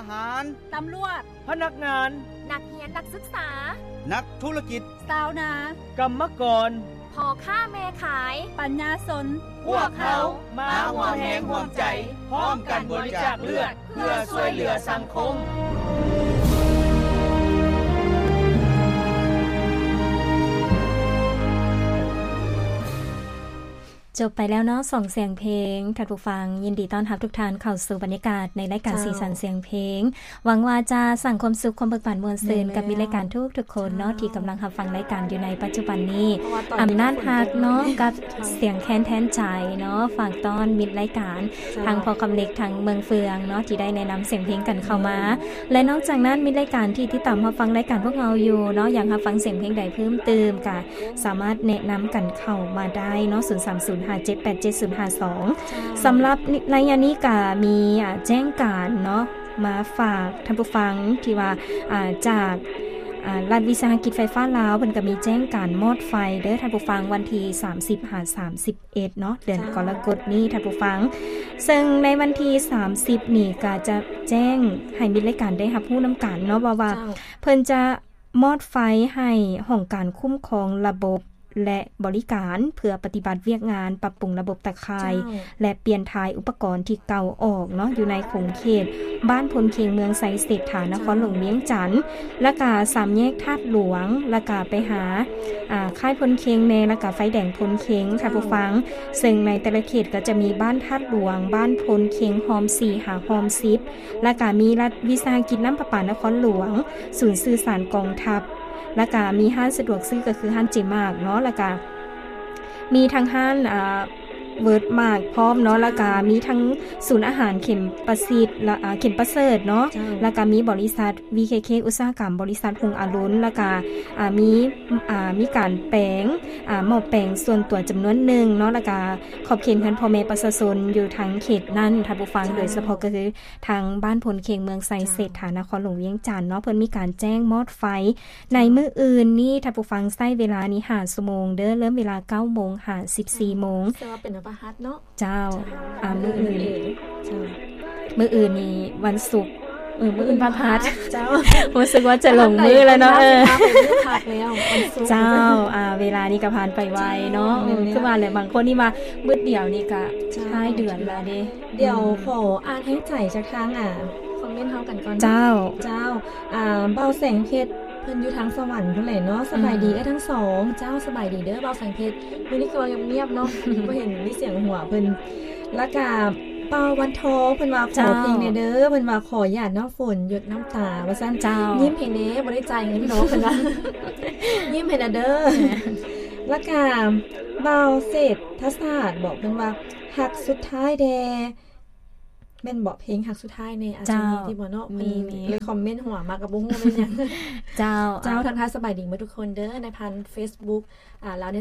ຫານ ຕຳຫຼວດ ພະນັກງານ ນັກຮຽນນັກສຶກສາ ນັກທຸລະກິດ ຊາວນາ ກຳມະກອນ ພໍ່ຄ້າແມ່ຂາຍ ປັນຍາຊົນ ພວກເຮົາມາຮ່ວມແຮງຮ່ວມໃຈ ພ້ອມກັນບໍລິຈາກເລືອດ ເພື່ອຊ່ວຍເຫຼືອສັງຄົມ. ຈົບໄປແລ້ວເນາະ ສອງສຽງເພງ. ທ່ານຜູ້ຟັງ, ຍິນດີຕ້ອນຮັບທຸກທ່ານເຂົ້າສູ່ບັນຍາກາດໃນລາຍການ ເຈົ້າ ສີສັນສຽງເພງ. ຫວັງວ່າຈະສ້າງຄວາມສຸກ, ຄວາມເບີກບານມ່ວນຊື່ນ ແມ່ນແລ້ວ ກັບມິດລາຍການທຸກໆຄົນເນາະ ທີ່ກຳລັງຮັບຟັງລາຍການຢູ່ໃນປັດຈຸບັນນີ້. ອຳນາດຮັກເນາະ ກັບສຽງແຄນແທນໃຈເນາະ ຝາກຕ້ອນມິດລາຍການ ເຈົ້າ ທັງພໍ່ຄຳເລັກ ທັງເມືອງເຟືອງເນາະ ທີ່ໄດ້ແນະນຳສຽງເພງກັນເຂົ້າມາ. ແມ່ນ ແລະ ນອກຈາກນັ້ນ ມິດລາຍການທີ່ຕິດຕາມຮັບຟັງລາຍການພວກເຮົາຢູ່ເນາະ ຢາກຮັບຟັງສຽງເພງໃດເພີ່ມເຕີມ ກະ ສາມາດແນະນຳກັນເຂົ້າມາໄດ້ເນາະ ສູນສາມສູນຫ້າເຈັດແປດເຈັດສູນຫ້າສອງ. ເຈົ້າ ສຳລັບໄລຍະນີ້ກະມີ ອາ ແຈ້ງການເນາະ ມາຝາກທ່ານຜູ້ຟັງ ທີ່ວ່າ ອາ ຈາກ ອາ ລັດວິສາຫະກິດໄຟຟ້າລາວ ເພິ່ນກະມີແຈ້ງການມອດໄຟເດີທ່ານຜູ້ຟັງ ວັນທີສາມສິບຫາສາມສິບເອັດເນາະ ເດືອນ ເຈົ້າ ກໍລະກົດນີ້ທ່ານຜູ້ຟັງ. ເຊິ່ງໃນວັນທີສາມສິບນີ້ກະຈະແຈ້ງໃຫ້ມິດລາຍການໄດ້ຮັບຮູ້ນຳກັນເນາະ ວ່າ ວ່າ ເຈົ້າ ເພິ່ນຈະ ມອດໄຟໃຫ້ຫ້ອງການຄຸ້ມຄອງລະບົບ ແລະ ບໍລິການ ເພື່ອປະຕິບັດວຽກງານປັບປຸງລະບົບຕາຂ່າຍ ເຈົ້າ ແລະ ປ່ຽນຖ່າຍອຸປະກອນທີ່ເກົ່າອອກເນາະ ຢູ່ໃນຂົງເຂດບ້ານໂພນເຄັງ ເມືອງໄຊເສດຖາ ນະຄອນຫຼວງວຽງຈັນ ແລ້ວກະສາມແຍກທາດຫຼວງ ແລ້ວກະໄປຫາ ອາ ຄ້າຍໂພນເຄັງແດ່ ແລ້ວກະໄຟແດງໂພນເຄັງ ເຈົ້າ ທ່ານຜູ້ຟັງ. ເຊິ່ງໃນແຕ່ລະເຂດກໍຈະມີບ້ານທາດຫຼວງ, ບ້ານໂພນເຄັງ, ຮ່ອມສີ່ຫາຮ່ອມສິບ ແລ້ວກະມີລັດວິສາຫະກິດນ້ຳປະປານະຄອນຫຼວງ, ສູນສື່ສານກອງທັບ, ແລ້ວກະມີຮ້ານສະດວກຊື້ກໍຄືຮ້ານເຈມາກເນາະ, ແລ້ວກະມີທັງຮ້ານ ອາ ເວີດມາກພ້ອມເນາະ, ເຈົ້າ ແລ້ວກະມີທັງສູນອາຫານເຂັມປະສິດ ແລະ ອາ ເຂັມປະເສີດເນາະ, ເຈົ້າ ແລ້ວກະມີບໍລິສັດ ວີເຄເຄ ອຸດສາຫະກຳ, ບໍລິສັດຮຸ່ງອາລຸນ, ແລ້ວກະ ອາ ມີ ອາ ມີການແປງ ອາ ໝໍ້ແປງສ່ວນຕົວຈຳນວນໜຶ່ງເນາະ, ແລ້ວກະຂອບເຂດເຮືອນພໍ່ແມ່ປະຊາຊົນຢູ່ທາງເຂດນັ້ນ ທ່ານຜູ້ຟັງ, ເຈົ້າ ໂດຍສະເພາະກໍຄື ທາງບ້ານໂພນເຄັງ ເມືອງໄຊເສດຖາ ເຈົ້າ ນະຄອນຫຼວງວຽງຈັນເນາະ, ເພິ່ນມີການແຈ້ງມອດໄຟໃນມື້ອື່ນນີ້ ທ່ານຜູ້ຟັງ, ໃຊ້ເວລານີ້ຫ້າຊົ່ວໂມງເດີ, ເລີ່ມເວລາເກົ້າໂມງຫາສິບສີ່ໂມງ. ເຊິ່ງວ່າເປັນວັນພະຫັດເນາະ. ເຈົ້າ. ເຈົ້າ. ອາ ມື້ອື່ນ. ມື້ອື່ນນີ້ວັນສຸກ. ເອີ ມື້ອື່ນວັນພະຫັດ. ເຈົ້າ. ຮູ້ສຶກວ່າຈະຫຼົງມື້ແລ້ວເນາະ. ເອີ ເຈົ້າ. ອາ ເວລານີ້ກໍຜ່ານໄປໄວເນາະ. ເຈົ້າ. ເອີ ຄືວ່າແຫຼະ, ບາງຄົນນີ້ວ່າມື້ດຽວນີ້ກໍ ເຈົ້າ ທ້າຍເດືອນແລ້ວເດ້. ດຽວ ອືມ ຂໍອ່ານໃຫ້ໃຈຈາກທາງ ອາ ຄອມເມັນເຮົາກັນກ່ອນເນາະ. ເຈົ້າ. ເຈົ້າ. ອາ ບ່າວແສງເພັດ ເພິ່ນຢູ່ທາງສະຫວັນພຸ້ນແຫຼະເນາະ. ສະບາຍດີ ອືມ ເອື້ອຍທັງສອງ. ເຈົ້າ ສະບາຍດີເດີບ່າວແສງເພັດ. ມື້ນີ້ຄືວ່າງຽບໆເນາະ, ບໍ່ເຫັນມີສຽງຫົວເພິ່ນ. ແລ້ວກະບ່າວວັນທອງ ເພິ່ນວ່າຂໍເພງແດ່ເດີ. ເຈົ້າ. ເພິ່ນວ່າຂໍຢາດນ້ຳຝົນຢົດນ້ຳຕາວ່າຊັ້ນ. ເຈົ້າ. ຍິ້ມໃຫ້ແດ່, ບໍ່ໄດ້ຈ່າຍເງິນດອກ ເພິ່ນວ່າ. ຍິ້ມໃຫ້ແດ່ເດີ. ແມ່ນ. ແລ້ວກະບ່າວເສດທະສາດບໍ ເພິ່ນວ່າຮັກສຸດທ້າຍແດ່. ແມ່ນບໍ ເພງຮັກສຸດທ້າຍແດ່ ອາດຈະມີ ເຈົ້າ ທີ່ບໍ່ເນາະ. ມີ ເພິ່ນ ມີ ເລີຍຄອມເມັນຫົວມາກໍບໍ່ຮູ້ແມ່ນຫຍັງ. ເຈົ້າ. ເຈົ້າ. ອ່າ ທັກທາຍສະບາຍດີໝົດທຸກຄົນເດີ ໃນຜ່ານເຟສບຸກ ອ່າ ລາວເນ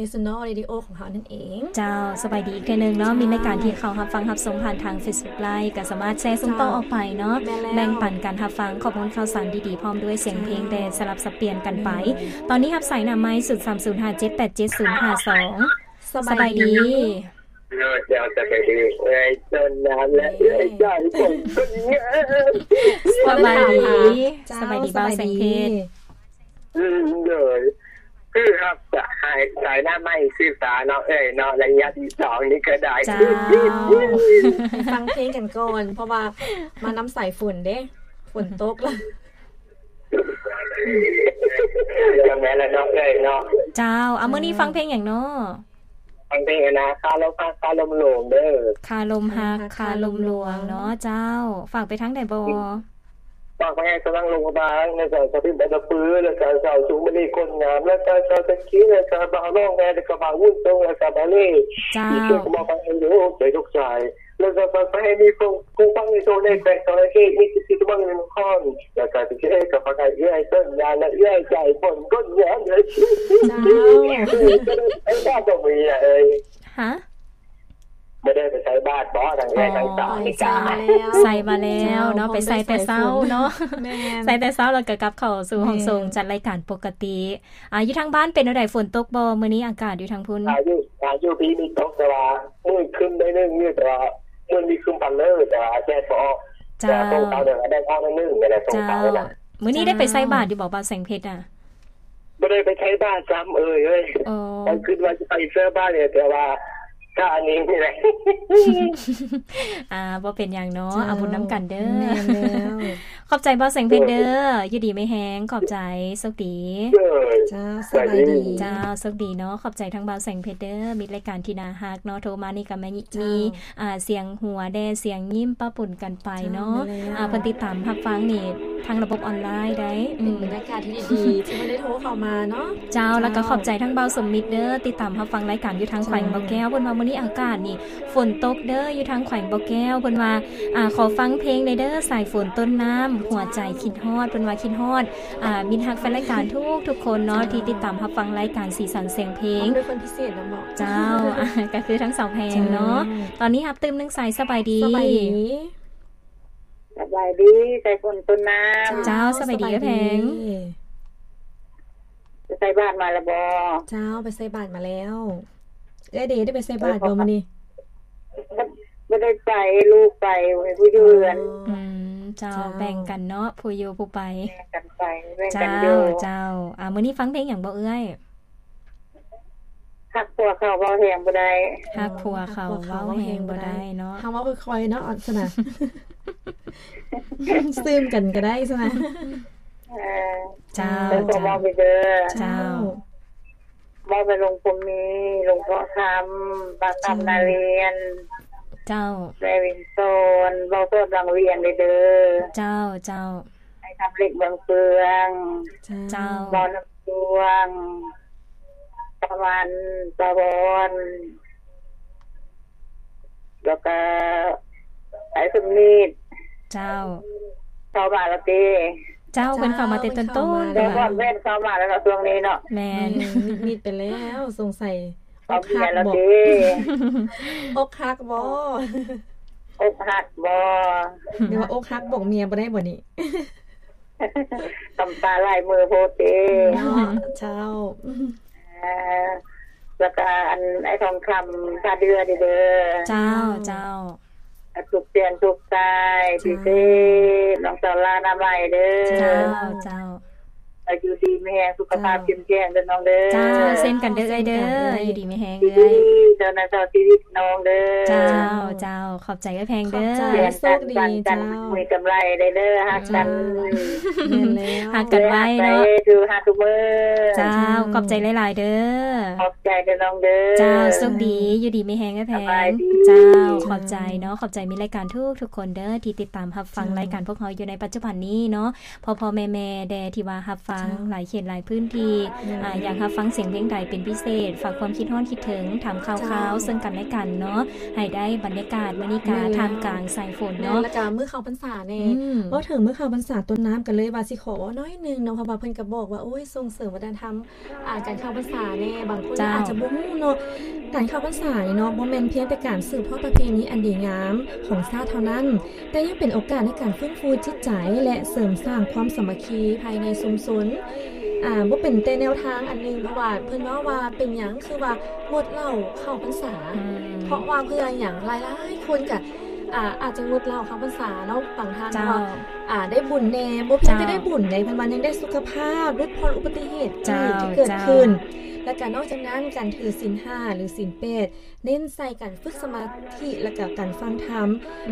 ເຊີນແນລເຣດິໂອຂອງເຮົານັ້ນເອງ. ເຈົ້າ. ສະບາຍດີອີກເທື່ອໜຶ່ງເນາະ. ເຈົ້າ. ມີລາຍການທີ່ເຂົ້າຮັບຟັງຮັບຊົມຜ່ານທາງເຟສບຸກໄລຟ໌ ກໍສາມາດແຊສົ່ງຕໍ່ ເຈົ້າ ອອກໄປເນາະ. ແມ່ນແລ້ວ. ແບ່ງປັນການຮັບຟັງຂໍ້ມູນຂ່າວສານດີໆ ພ້ອມດ້ວຍສຽງເພງ ເຈົ້າ ແດ່ສະຫຼັບສັບປ່ຽນກັນໄປ. ແມ່ນ. ຕອນນີ້ຮັບສາຍໜ້າໄມ້ ສູນສາມສູນຫ້າເຈັດແປດເຈັດສູນຫ້າສອງ. ສະບາຍດີ. ສະບາຍດີ. ໂດຍ ເຈົ້າ ສະບາຍດີເອື້ອຍຕົ້ນນ້ຳ ແລະ ເອື້ອຍສາຍຝົນຄົນງາມ. ສະບາຍດີ. ເຈົ້າ ສະບາຍດີ ສະບາຍດີ ບ່າວແສງເພັດ. ອືມ ໂດຍ ຄືຮັບສາຍ ສາຍໜ້າໄມ້ສືບຕາເນາະເອື້ອຍເນາະ ໄລຍະທີສອງນີ້ກໍໄດ້. ເຈົ້າ. ໃຫ້ຟັງເພງກັນກ່ອນ ເພາະວ່າມານຳສາຍຝົນເດ້ ຝົນຕົກລະ. ແມ່ນແລ້ວເນາະເອື້ອຍເນາະ. ເຈົ້າ. ເອົາ ມື້ນີ້ຟັງເພງຫຍັງເນາະ? ຟັງເພງອັນນາ ຄາລົມຮັກ ຄາລົມຫຼວງເດີ. ຄາລົມຮັກ ຄາລົມຫຼວງເນາະ. ເຈົ້າ. ຝາກໄປທາງໃດບໍ? ຝາກໄປໃຫ້ຊາວນາງຫຼວງພະບາງ ແລ້ວກໍຊາວພິມໄປຕະປື ແລ້ວກໍຊາວສູງມະນີຄົນງາມ ແລ້ວກໍຊາວຕະກີ ແລ້ວກໍບ່າວນ້ອງແມ່ ແລ້ວກໍບ່າວວຸ້ນຕົງ ແລ້ວກໍບ່າວເລ່. ເຈົ້າ. ທີ່ຊ່ວຍມອບໃຫ້ໃນຫົວໃຈທຸກສາຍ ແລ້ວກໍຝາກໄປໃຫ້ມີຜູ້ ຜູ້ຟັງໃນໂຊໃນແຂວງສະຫວັນນະເຂດ ມີສິດທິຕະເບິ່ງນະຄອນ ແລ້ວກໍທີ່ເອກະຟັງໃຫ້ເອື້ອຍຕົ້ນຍາ ແລະ ເອື້ອຍໃຈຜົນກົ້ນຍາເດີ. ເຈົ້າ. ເອີຍ ເຈົ້າ ເຈົ້າ ເຈົ້າ ເອີຍ ຮະ? ບໍ່ໄດ້ໄປໃສ່ບາດບໍ ທັງເອື້ອຍທັງສາວນີ້ກະ? ອໍ ໄປໃສ່ມາແລ້ວ ໃສ່ມາແລ້ວເນາະ. ເຈົ້າ ໄປໃສ່ແຕ່ເຊົ້າເນາະ. ແມ່ນ. ໃສ່ແຕ່ເຊົ້າ ແລ້ວກໍກັບເຂົ້າສູ່ຫ້ອງສົ່ງ ແມ່ນ ຈັດລາຍການປົກກະຕິ. ອ່າ ຢູ່ທາງບ້ານເປັນແນວໃດ? ຝົນຕົກບໍ່ມື້ນີ້? ອາກາດຢູ່ທາງພຸ້ນ ອາ ຢູ່ ອາ ຢູ່ພີ້ມີຕົກ ແຕ່ວ່າມືດຄຶ້ມໜ້ອຍໜຶ່ງຢູ່ ແຕ່ວ່າມື້ນີ້ຄຶ້ມພັນເລີ ແຕ່ວ່າແດດບໍ່ອອກ. ເຈົ້າ ແຕ່ວ່າສົ່ງເຂົ້າເດີ ໄດ້ເຂົ້າໜ້ອຍໜຶ່ງ ແຕ່ວ່າສົ່ງເຂົ້າ ເຈົ້າ ນະ. ມື້ນີ້ໄດ້ໄປໃສ່ບາດຢູ່ບໍ່ ບ່າວແສງເພັດນະ? ບໍ່ໄດ້ໄປໃສ່ບາດຊ້ຳເອີຍເອີຍ. ອໍ ຂ້ອຍຄິດວ່າຊິໄປໃສ່ບາດແຫຼະ ແຕ່ວ່າຊ້ານິດໜຶ່ງແຫຼະ. ອ່າ ບໍ່ເປັນຫຍັງເນາະ. ເຈົ້າ ເອົາບຸນນຳກັນເດີ. ແມ່ນແລ້ວ. ຂອບໃຈບ່າວແສງເພັດເດີ. ໂດຍ ຢູ່ດີມີແຮງ. ຂອບໃຈ. ໂຊກດີ. ໂດຍ ເຈົ້າ ສະບາຍດີ. ສະບາຍດີ. ເຈົ້າ ໂຊກດີເນາະ. ຂອບໃຈທາງບ່າວແສງເພັດເດີ. ມິດລາຍການທີ່ໜ້າຮັກເນາະ. ໂທມານີ້ກໍແມ່ນ ເຈົ້າ ມີ ອ່າ ສຽງຫົວແດ່ ສຽງຍິ້ມປະປົນກັນໄປເນາະ. ເຈົ້າ ແມ່ນແລ້ວ. ອ່າ ເພິ່ນຕິດຕາມຮັບຟັງນີ້ທາງລະບົບອອນລາຍໄດ້. ເປັນບັນຍາກາດທີ່ດີໆ ທີ່ເພິ່ນໄດ້ໂທເຂົ້າມາເນາະ. ເຈົ້າ ເຈົ້າ ແລ້ວກໍຂອບໃຈທາງບ່າວສົມມິດເດີ ຕິດຕາມຮັບຟັງລາຍການຢູ່ທາງແຂວງບໍ່ແກ້ວ. ເຈົ້າ ເພິ່ນວ່າມື້ນີ້ອາກາດນີ້ຝົນຕົກເດີ ຢູ່ທາງແຂວງບໍ່ແກ້ວ. ເພິ່ນວ່າ ອ່າ ຂໍຟັງເພງແດ່ເດີ ສາຍຝົນຕົ້ນນ້ຳ ຫົວໃຈຄິດຮອດ. ເພິ່ນວ່າຄິດຮອດ ອ່າ ມິດຮັກແຟນລາຍການທຸກໆຄົນເນາະ ເຈົ້າ ທີ່ຕິດຕາມຮັບຟັງລາຍການສີສັນສຽງເພງ. ພ້ອມດ້ວຍຄົນພິເສດນຳເນາະ. ເຈົ້າ ອ່າ ກໍຄືທັງສອງແພງເນາະ. ເຈົ້າ ຕອນນີ້ຮັບຕື່ມໜຶ່ງສາຍ. ສະບາຍດີ. ສະບາຍດີ. ສະບາຍດີ ສາຍຝົນຕົ້ນນ້ຳ. ເຈົ້າ ເຈົ້າ ສະບາຍດີ ສະບາຍດີ ເອື້ອຍແພງ. ໄປໃສ່ບາດມາແລ້ວບໍ່? ເຈົ້າ ໄປໃສ່ບາດມາແລ້ວ. ເອື້ອຍເດ ໄດ້ໄປໃສ່ບາດບໍ່ມື້ນີ້? ບໍ່ ບໍ່ໄດ້ໄປ ລູກໄປ ຜູ້ຢູ່ເຮືອນ. ອໍ ອືມ ເຈົ້າ ເຈົ້າ ແບ່ງກັນເນາະ ຜູ້ຢູ່ຜູ້ໄປ. ແບ່ງກັນໄປ ແບ່ງກັນຢູ່. ເຈົ້າ ເຈົ້າ. ອ່າ ມື້ນີ້ຟັງເພງຫຍັງບໍ່ເອື້ອຍ? ຮັກຜົວເຂົາເວົ້າແຮງບໍ່ໄດ້. ຮັກຜົວເຂົາເວົ້າແຮງບໍ່ໄດ້ເນາະ. ເຮົາເວົ້າຄ່ອຍໆເນາະ ອັນຊັ້ນນະ ຊຶມກັນກໍໄດ້ຊັ້ນນະ. ເອີ ເຈົ້າ ເຈົ້າ ເຈົ້າ ເວົ້າໄປເດີ. ເຈົ້າ ເຈົ້າ ເວົ້າໄປລຸງພົມມີ ລຸງເພາະຄຳ ປ້າຄຳນາລຽນ. ເຈົ້າ ແມ່ວິນສອນ ເວົ້າສອດວັງວຽງເດີ. ເຈົ້າ ເຈົ້າ. ອ້າຍຄຳເລັກເມືອງເຟືອງ. ເຈົ້າ ເຈົ້າ ເວົ້ານຳ ດວງ ຕາວັນ ຕາວອນ ແລ້ວກະໄອ້ສົມນິດ. ເຈົ້າ ເຂົ້າມາແລ້ວຕິ? ເຈົ້າ ເຈົ້າ ເພິ່ນເຂົ້າມາແຕ່ຕົ້ນໆ. ແຕ່ວ່າແມ່ນເຂົ້າມາແລ້ວເນາະ ຊ່ວງນີ້ເນາະ. ແມ່ນ ແມ່ນ ມິດໆໄປແລ້ວ ສົງໄສອົກຫັກບໍ? ອົກຫັກບໍ? ອົກຫັກບໍ? ຫຼືວ່າອົກຫັກບອກເມຍບໍ່ໄດ້ບໍນີ້? ກຳຕາຫຼາຍມື້ໂພດເດ. ເນາະ ເຈົ້າ. ເອີ ແລ້ວກະອັນ ອ້າຍທອງຄຳ ທ່າເດື່ອເດີ. ເຈົ້າ ເຈົ້າ ເຈົ້າ. ທຸກສຽງທຸກສາຍ ເຈົ້າ ພິເສດ ນ້ອງສາວລາ ນາໄມເດີ. ເຈົ້າ ເຈົ້າ. ຢູ່ດີມີແຮງ ສຸຂະພາບ ເຈົ້າ ເຂັ້ມແຂງເດີນ້ອງເດີ. ເຈົ້າ ເຊັ່ນກັນເດີເອື້ອຍເດີ. ເຊັ່ນກັນເອື້ອຍ ຢູ່ດີມີແຮງເອື້ອຍ. ເຈົ້ານາຍ ຕໍ່ຊີວິດນ້ອງເດີ. ເຈົ້າ ເຈົ້າ. ຂອບໃຈເອື້ອຍແພງເດີ. ຂອບໃຈ ໂຊກດີເຈົ້າ. ມີກຳໄລໄດ້ເດີ ຮັກກັນ. ເຈົ້າ ແມ່ນແລ້ວ ຮັກກັນໄວ້ເນາະ. ເຈົ້າ ຂອບໃຈຫຼາຍໆເດີ. ຂອບໃຈເດີນ້ອງເດີ. ເຈົ້າ ໂຊກດີ ຢູ່ດີມີແຮງເອື້ອຍແພງ. ເຈົ້າ ຂອບໃຈເນາະ. ຂອບໃຈມິດລາຍການທຸກໆຄົນເດີ ທີ່ຕິດຕາມຮັບຟັງ ເຈົ້າ ລາຍການພວກເຮົາຢູ່ໃນປັດຈຸບັນນີ້ເນາະ. ພໍ່ໆແມ່ໆແດ່ ທີ່ວ່າຮັບຟັງ ເຈົ້າ ຫຼາຍເຂດຫຼາຍພື້ນທີ່ ເຈົ້າ ອ່າ ຢາກຮັບຟັງສຽງເພງໃດເປັນພິເສດ ຝາກຄວາມຄິດຮອດຄິດເຖິງ ຖາມຂ່າວຄາວ ເຈົ້າ ເຊິ່ງກັນແລະກັນເນາະ ໃຫ້ໄດ້ບັນຍາກາດມື້ນີ້ກະ ແມ່ນແລ້ວ ທ່າມກາງສາຍຝົນເນາະ ແລະກະມື້ເຂົ້າພັນສາແດ່. ອືມ ເວົ້າເຖິງມື້ເຂົ້າພັນສາຕົ້ນນ້ຳກັນເລີຍ ວ່າຊິຂໍເວົ້າໜ້ອຍໜຶ່ງເນາະ ເພາະວ່າເພິ່ນກະບອກວ່າ ໂອ້ຍ ສົ່ງເສີມວັດທະນະທຳ ອ່າ ການເຂົ້າພັນສາແດ່. ບາງຄົນ ເຈົ້າ ອາດຈະບໍ່ຮູ້ເນາະ ການເຂົ້າພັນສານີ້ເນາະ ບໍ່ແມ່ນພຽງແຕ່ການສືບທອດປະເພນີອັນດີງາມຂອງຊາດເທົ່ານັ້ນ ແຕ່ຍັງເປັນໂອກາດໃນການຟື້ນຟູຈິດໃຈ ແລະ ເສີມສ້າງຄວາມສາມັກຄີພາຍໃນຊຸມຊົນ. ອ່າ ບໍ່ເປັນແຕ່ແນວທາງອັນໜຶ່ງ ເພາະວ່າເພິ່ນເວົ້າວ່າເປັນຫຍັງຄືວ່າງົດເຫຼົ້າເຂົ້າພັນສາ ອືມ ເພາະວ່າເພື່ອຫຍັງ? ຫຼາຍໆຄົນກະ ອ່າ ອາດຈະງົດເຫຼົ້າເຂົ້າພັນສາເນາະ ບາງທ່ານ ເຈົ້າ ວ່າ ອ່າ ໄດ້ບຸນແດ່ ບໍ່ພຽງແຕ່ ເຈົ້າ ໄດ້ບຸນໃດ ເພິ່ນວ່າຍັງໄດ້ສຸຂະພາບ ຫຼຸດຜ່ອນອຸບັດຕິເຫດ ເຈົ້າ ທີ່ເກີດ ເຈົ້າ ຂຶ້ນ ແລະກະນອກຈາກນັ້ນ ການຖືສິນຫ້າ ຫຼື ສິນແປດ ເນັ້ນໃສ່ການຝຶກສະມາທິ ແລະກະການຟັງທຳ ອືມ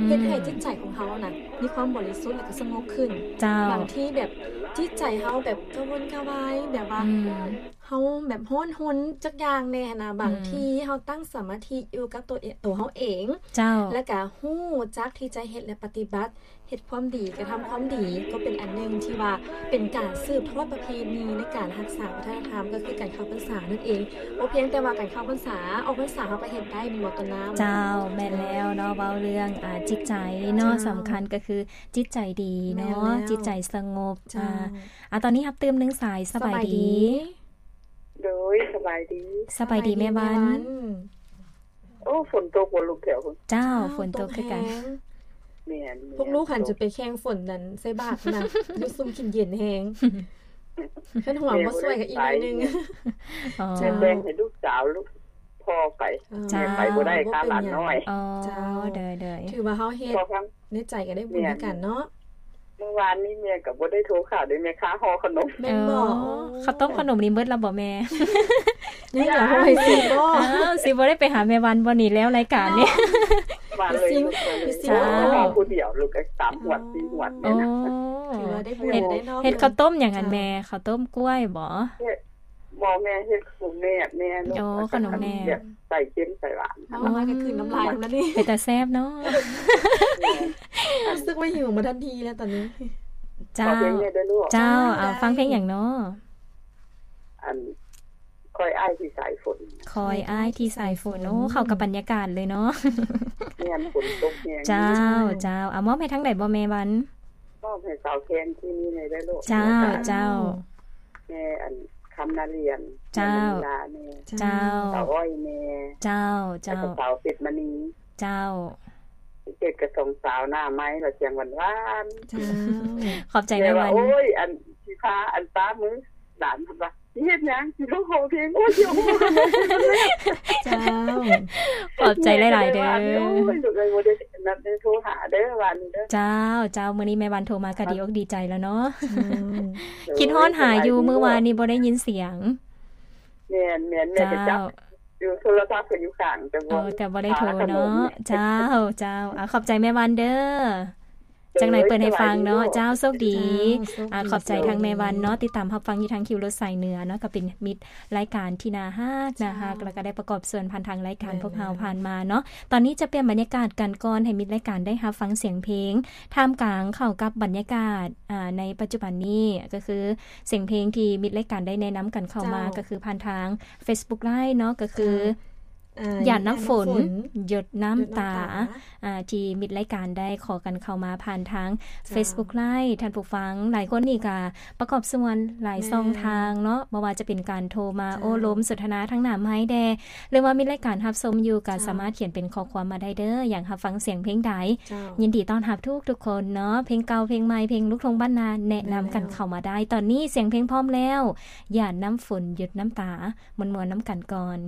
ເຮັດໃຫ້ຈິດໃຈຂອງເຮົານະ ມີຄວາມບໍລິສຸດ ແລະກະສະຫງົບຂຶ້ນ ເຈົ້າ ບາງທີແບບຈິດໃຈເຮົາແບບກະວົນກະວາຍ ແບບວ່າ ອືມ ເຮົາແບບຮ້ອນຮົນຈັກຢ່າງແດ່ຫັ້ນນະ ບາງ ອືມ ທີເຮົາຕັ້ງສະມາທິຢູ່ກັບໂຕເອ- ໂຕເຮົາເອງ ເຈົ້າ ແລະກະຮູ້ຈັກທີ່ຈະເຮັດ ແລະ ປະຕິບັດ ເຮັດຄວາມດີ ກະທຳຄວາມດີ ກໍເປັນອັນໜຶ່ງທີ່ວ່າເປັນການສືບທອດປະເພນີໃນການຮັກສາວັດທະນະທຳ ກໍຄືການເຂົ້າພັນສານັ້ນເອງ. ບໍ່ພຽງແຕ່ວ່າການເຂົ້າພັນສາ ອອກພັນສາເຮົາກໍເຮັດໄດ້ ແມ່ນບໍ່ ຕົ້ນນ້ຳ? ເຈົ້າ ແມ່ນແລ້ວເນາະ ເວົ້າເລື່ອງ ອ່າ ຈິດໃຈເນາະ ເຈົ້າ ສຳຄັນກໍຄືຈິດໃຈດີເນາະ ແມ່ນແລ້ວ ຈິດໃຈສະຫງົບ ເຈົ້າ ອ່າ ອ່າ ຕອນນີ້ຮັບຕື່ມໜຶ່ງສາຍ. ສະບາຍດີ ສະບາຍດີ. ໂດຍ ສະບາຍດີ ສະບາຍດີແມ່ວັນ. ໂອ້ ຝົນຕົກບໍ່ລູກແຖວພຸ້ນ? ເຈົ້າ ເຈົ້າ ຝົນຕົກຄືກັນ ແມ່ນໆ ພວກລູກຫັ້ນຈະໄປແຂ່ງຝົນນັ້ນໃສ່ບາດນະ ຢູ່ຊຸ່ມກິນເຢັນແຮງ ຄັນຫົວບໍ່ຊ່ວຍກໍອີກໜ້ອຍໜຶ່ງ ອໍ ແບ່ງໃຫ້ລູກສາວລູກ ພໍໄປ ເຈົ້າ ແມ່ໄປບໍ່ໄດ້ ບໍ່ເປັນຫຍັງ ຄ່າຫຼານນ້ອຍ. ອໍ ເຈົ້າ ໂດຍໆ ຖືວ່າເຮົາເຮັດ ພໍຟັງ ໃນໃຈກໍໄດ້ບຸນຄືກັນເນາະ. ແມ່ນ ມື້ວານນີ້ແມ່ກໍບໍ່ໄດ້ໂທຫາເດ້ ແມ່ຄ້າຫໍ່ຂະໜົມ. ແມ່ນບໍ່? ອໍ ອໍ ເຂົ້າຕົ້ມຂະໜົມນີ້ເບິດແລ້ວບໍ່ແມ່? ຍັງຫຼາຍ ຍັງ ໂອ້ຍ ຊິບໍ່ ອ້າວ ຊິບໍ່ໄດ້ໄປຫາແມ່ວັນບໍ່ນີ້ ແລ້ວລາຍການນີ້ ເນາະ ວານເລີຍ ຊິມ ຊິມ ເຈົ້າ ພໍ່ຜູ້ດຽວ ລູກກໍສາມຫວດ ອໍ ສີ່ຫວດນີ້ນະ. ອໍ ຖືວ່າໄດ້ບຸນ ເຮັດ ໄດ້ເນາະ ເຮັດເຂົ້າຕົ້ມຫຍັງຫັ້ນແມ່? ເຈົ້າ ເຂົ້າຕົ້ມກ້ວຍບໍ່? ເຮັດ ບໍ່ແມ່ ເຮັດຂະໜົມແມບແມ່ລູກ. ອໍ ຂະໜົມແມບ ແບບໃສ່ເຄັມໃສ່ຫວານ. ເວົ້າມາກໍຄືນນ້ຳລາຍແລ້ວນີ້ ເປັນຕາແຊບເນາະ. ແມ່ນ ຮູ້ສຶກວ່າຫິວມາທັນທີແລ້ວຕອນນີ້. ເຈົ້າ ຂໍເພງແດ່ເດີລູກ. ເຈົ້າ ເຈົ້າ ເອົາ ໄດ້ ຟັງເພງຫຍັງເນາະ? ອັນ ຄອຍອ້າຍທີ່ສາຍຝົນ ຄອຍອ້າຍທີ່ສາຍຝົນ. ໂອ້ ເຂົ້າກັບບັນຍາກາດເລີຍເນາະ. ແມ່ນ ຝົນຕົກແຮງ. ເຈົ້າ ເຈົ້າ ເອົາ ມອບໃຫ້ທາງໃດບໍ່ແມ່ວັນ? ມອບໃຫ້ສາວແຄນທີ່ນີ້ແດ່ເດີລູກ. ເຈົ້າ ແລ້ວກໍ ເຈົ້າ ແມ່ອັນ ຄຳນາລຽນ ເຈົ້າ ແມ່ມະນີລາແດ່ ເຈົ້າ ສາວອ້ອຍແດ່ ເຈົ້າ ເຈົ້າ ແລ້ວກໍສາວເພັດມະນີ ເຈົ້າ ເຈັດກະສອງສາວໜ້າໄມ້ລະສຽງຫວານໆ. ເຈົ້າ ຂອບໃຈແມ່ວັນ. ແມ່ວ່າ ໂອ້ຍ ອັນຊິພາອັນປ້າມື້ຫຼານ ເພິ່ນວ່າ ຊິເຮັດຫຍັງ? ຊິໂທຂໍເພງ. ໂອ້ຍ ຊິເອົາ ເຈົ້າ ຂອບໃຈຫຼາຍໆເດີ. ໂອ້ຍ ລູກເອີຍ ບໍ່ໄດ້ນັດໄດ້ໂທຫາເດີ ວານນີ້ເດີ. ເຈົ້າ ເຈົ້າ ມື້ນີ້ແມ່ວັນໂທມາກໍດີອົກດີໃຈແລ້ວເນາະ. ເຈົ້າ ໂດຍ ຄິດຮອດຫາຢູ່ ສະບາຍດີ ມື້ວານນີ້ບໍ່ໄດ້ຍິນສຽງ. ແມ່ນໆ ແມ່ກໍຈັບ ເຈົ້າ ຢູ່ ໂທລະສັບກໍຢູ່ຂ້າງ ແຕ່ບໍ່ ເອີ ກໍບໍ່ໄດ້ໂທເນາະ. ຫາຂະໜົມ. ເຈົ້າ ເຈົ້າ ເອົາ ຂອບໃຈແມ່ວັນເດີ. ໂດຍ ຈັ່ງໃດເປີດໃຫ້ຟັງເນາະ. ສະບາຍດີ ເຈົ້າ ໂຊກດີ. ເຈົ້າ ໂຊກດີ ອ່າ ຂອບໃຈທາງແມ່ວັນເນາະ ຕິດຕາມຮັບຟັງຢູ່ທາງຄິວລົດສາຍເໜືອເນາະ ກໍເປັນມິດລາຍການທີ່ໜ້າຮັກ ໜ້າຮັກ ເຈົ້າ ແລ້ວກໍໄດ້ປະກອບສ່ວນຜ່ານທາງລາຍການ ແມ່ນ ພວກເຮົາ ແມ່ນ ຜ່ານມາເນາະ. ຕອນນີ້ຈະປ່ຽນບັນຍາກາດກັນກ່ອນ ໃຫ້ມິດລາຍການໄດ້ຮັບຟັງສຽງເພງ ທ່າມກາງເຂົ້າກັບບັນຍາກາດ ອ່າ ໃນປັດຈຸບັນນີ້ ກໍຄືສຽງເພງທີ່ມິດລາຍການໄດ້ແນະນຳກັນເຂົ້າມາ ເຈົ້າ ກໍຄືຜ່ານທາງ Facebook Live ເນາະ ກໍຄື ເຈົ້າ ອ່າ ຢາດນ້ຳຝົນ ຢາດນ້ຳຝົນ ຢົດນ້ຳຕາ ຢົດນ້ຳຕາ ອ່າ ທີ່ມິດລາຍການໄດ້ຂໍກັນເຂົ້າມາຜ່ານທາງ ເຈົ້າ Facebook Live. ທ່ານຜູ້ຟັງຫຼາຍຄົນນີ້ກະປະກອບສ່ວນຫຼາຍ ແມ່ນ ຊ່ອງທາງເນາະ ບໍ່ວ່າຈະເປັນການໂທມາ ເຈົ້າ ໂອ້ລົມສົນທະນາທາງໜ້າໄມ້ແດ່ ຫຼືວ່າມິດລາຍການຮັບຊົມຢູ່ ກໍ ເຈົ້າ ສາມາດຂຽນເປັນຂໍ້ຄວາມມາໄດ້ເດີ. ຢາກຮັບຟັງສຽງເພງໃດ ເຈົ້າ ຍິນດີຕ້ອນຮັບທຸກໆຄົນເນາະ ເພງເກົ່າເພງໃໝ່ ເພງລູກທົ່ງບ້ານນາ ແນະນຳກັນເຂົ້າມາໄດ້. ແມ່ນແລ້ວ ຕອນນີ້ສຽງເພງພ້ອມແລ້ວ ຢາດນ້ຳຝົນ ຢົດນ້ຳຕາ ມ່ວນໆນຳກັນກ່ອນ.